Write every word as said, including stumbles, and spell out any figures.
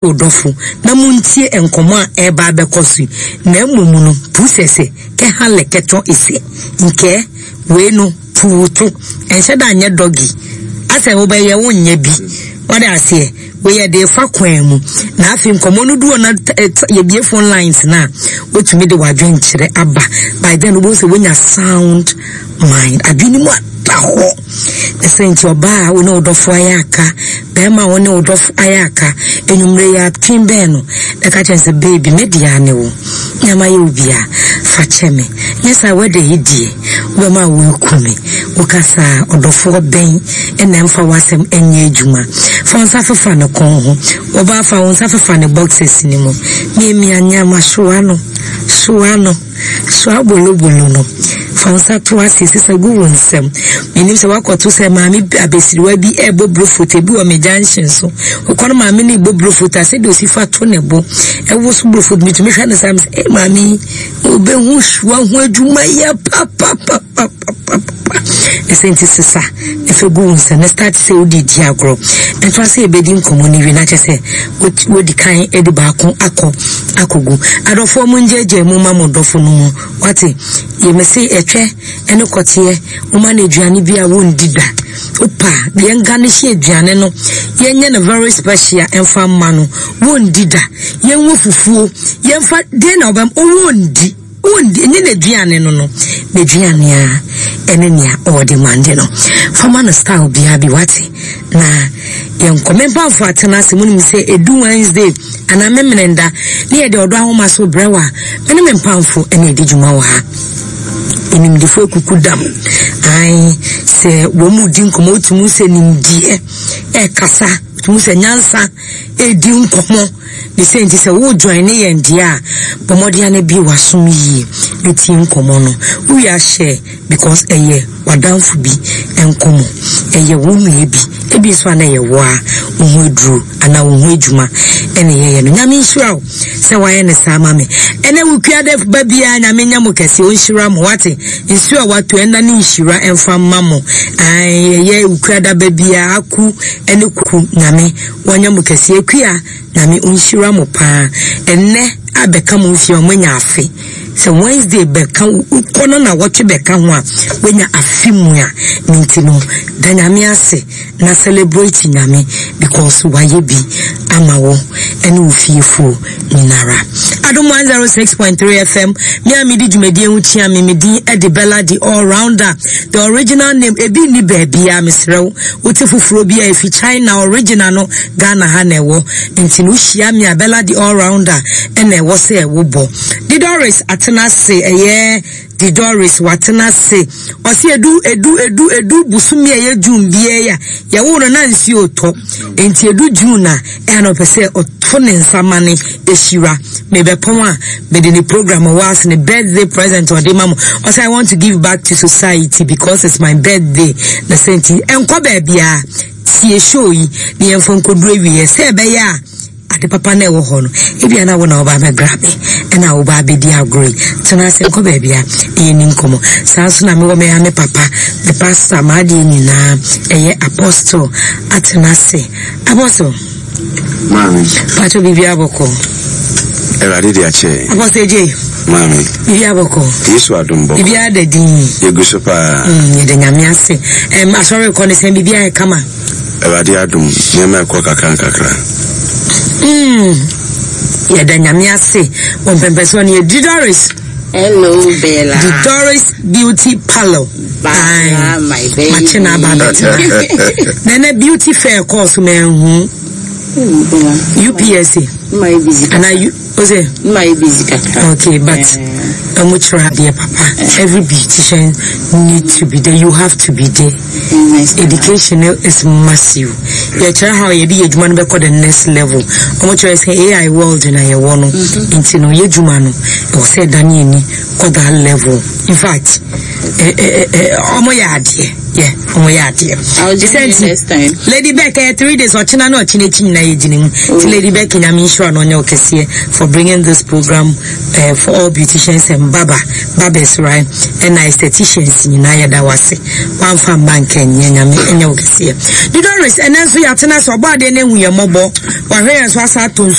Wo dɔfo na montie nkɔmmɔ a ɛreba abɛkɔ so yi, na mmom no, pu sɛ sɛ kɛha lɛ kɛtɔ esɛ nkɛɛ wei no pu wo to, ɛnhyɛ da nyɛ dɔgi, asɛ wobɛyɛ wonyɛ bi, wade aseɛ, wei yɛde refa kwan mu, na afei nkɔmmɔ no du hɔ na yɛbie phone lines no a, wotumi de w'adwenkyerɛ aba, by then wobɛhu sɛ wonya sound mind, adwene mu ada hɔ. Ne sɛ nti ɔbaa a wo ne wo dɔfo ayɛ aka, bɛrima a wo ne wo dɔfo ayɛ aka, anwummere yi atwe bɛn no, na ka kyerɛ sɛ baby me deɛ ne wo, nea mayɛ wo bia, fa kyɛ me. Nyɛ saa wɛda yi deɛ, wobɛma woaku me. Woka saa ɔdɔfoɔ bɛn na ɛmfa w'asɛm nyɛ adwuma. Fa wo nsa fefa ne kɔn ho, ɔbaa fa wo nsa fefa ne boxers no mu, miamia nneɛma, soa no, soa no. Soa bolobolo no. Fa wo nsa to ase, sesa gu wo nsam. Menim sɛ woakɔto sɛ maame abasiriwa bi ɛrebɔ brofot, ebi wɔ me junction so. Wokɔ no maame no rebɔ brofot a, sɛdeɛ osi fa to ne bo. Ɛwo so brofot, metumi hwɛ no saa, mesɛ, ee maame yi, wobɛhu soa ho adwuma yɛ papapapapapa. Ɛsɛ nti sesa, na fa gu wo nsam, na start sɛ wode di agorɔ. Ɛntoa sɛ yɛbɛdi nkɔmmɔ no wie, na kyerɛ sɛ wodi kan de baako akɔ akɔgu. Adɔfoɔ mo ngyaagyaa mu ma mo dɔfo no mu. Wate? Yɛ me se ɛtwɛ ɛne kɔteɛ, woma no aduane bi a wondi da. Wopa, yɛn garnish aduane no, yɛnyɛ no very special ɛmfa mma no, wondi da. Yɛnwɔ fufuo, yɛmfa, den na wobɛm, wondi. Wondi, ɛnyɛ n'aduane no no, n'aduane a ɛne nea ɔde mande no. Fama no style biara bi, wate? Na yɛnkɔ. Me mpamfo atena ase, munim sɛ edu Wednesday anaa Memeneda ne yɛde ɔdɔ ahoma so brɛ wa. Me ne me mpamfo ɛna edi dwuma wɔ ha. Enimdefo ekuku dam. Ae, sɛ wɔn mu di nkɔmɔ, wotumi sɛ nimdeɛ ɛkasa, wotumi sɛ nyansa edi nkɔmɔ. Ne sɛ nti sɛ wo join ne yɛn deɛ a, bɔ mmɔden ana bi w'asom yie na tie nkɔmɔ no. Wowie ahyɛ because ɛyɛ w'adamfo bi nkɔmɔ, ɛyɛ wo nua bi, ebi nso ana ɛyɛ wo a wo ho aduro anaa wo ho adwuma ɛna ɛyɛyɛ no. Nyame nhyira wo sɛ wayɛ ne saa ma me. Ɛnɛ wokua dɛ ba biara Nyame nya mo kɛse, ɔnhyira mo, wate? Nsuo a wato ɛnna ne nhyira ɛmfa mma mo. Ae, ɛyɛ wokua da ba biara aku ɛne kuku, Nyame wanya mo kɛse. Akua Nyame ɔnhyira mo paa. Ɛnɛ abɛka mo mfie a ɔmanya afe. Sɛ Wednesday bɛka wokɔ no na wɔtwe bɛka ho a wanya afe mu a, ne nti no da Nyame ase na celebrate Nyame because wayɛ bi ama wo ɛne wo fiefoɔ nyinara. Adom one oh six point three F M, me a medi dwumadie ho kyia me, me din ɛde Bella the all rounder, the original name, ebi nni baabi a mesrɛ wo, wote foforɔ bi a efi China, original no Ghana ha na ɛwɔ, nti no wohyia me a Bella the all rounder ɛna ɛwɔ sɛ ɛwobɔ. Didoris atena ase, ɛyɛ Didoris watena ase, ɔse edu edu edu edu busumi a ɛyɛ June biara ya, yɛwo no na nsuo tɔ, nti edu June a ɛna ɔpɛ sɛ ɔto ne nsa ma ne ehyira. Mebɛpɔn a mede ne program wɔ ase ne birthday present ɔde ma mo. Ɔse I want to give back to society because it's my birthday. Na sɛ nti ɛnkɔ baabia tie show yi ne yɛmfa nkɔduru awie sɛ ɛbɛyɛ a ade papa na ɛwɔ hɔ no ebia na wo na woba abɛgrabe ɛna woba abɛdi agorɔ yi. Tena ase nkɔ baabi a ɛyɛ ni nkɔmmɔ. Saa nso na mewɔ me me papa, me pastor, m'adeɛ nyinaa ɛyɛ apostle atena ase. Apostle. Maame. Pacho biribi abɔkɔ. Awurade de akyɛ. Apostle J. Maame. Biribi abɔkɔ. Yesu adom bɔkɔ. Biribi ada din. Yɛgu so paa. Mm, yɛde Nyame ase. Ɛm, asɔre kɔ ne sɛn biribi ayɛ kama. Awurade adom, nneɛma ɛkɔ kakra nkakra. Mm. Yɛda Nyame ase. Wɔn pɛmpɛ so ne yɛ Didoris. Hello Bella. Didoris Beauty Parlor. Bella, my baby. Makye na aba abɛtena. Nana beauty fair kɔɔ so ma ɛhu. U P S A. My busy. And I, ose? My busy kakra. Okay, but I'm much dear papa. Every beautician need to be there. You have to be there. Education is massive. You try how you be your man be the next level. I'm trying to say A I world na you want no. Nti no ye juma no. O say Daniel ni ko that level. In fact, Ɔmo yɛ adeɛ, yɛ ɔmo yɛ adeɛ. I'll join you next time. Lady Beck, ɛyɛ three days, ɔkyena na ɔkyena akyi nyinaa yɛ gyina mu. Ti Oh. Lady Beck, Nyame nhyira no, ɔnyɛ ɔkɛseɛ for bringing this program uh, for all beauticians and barber barbers, right, ɛna estheticians nyinaa, yɛda wase. Wamfa mma nka nyɛ, Nyame ɛnyɛ ɔkɛseɛ. Doris, ɛnɛ nso yɛatena sɛ ɔbɔ adeɛ no ehu yɛ mmɔbɔ, wahwɛ yɛn so asa ato nsu.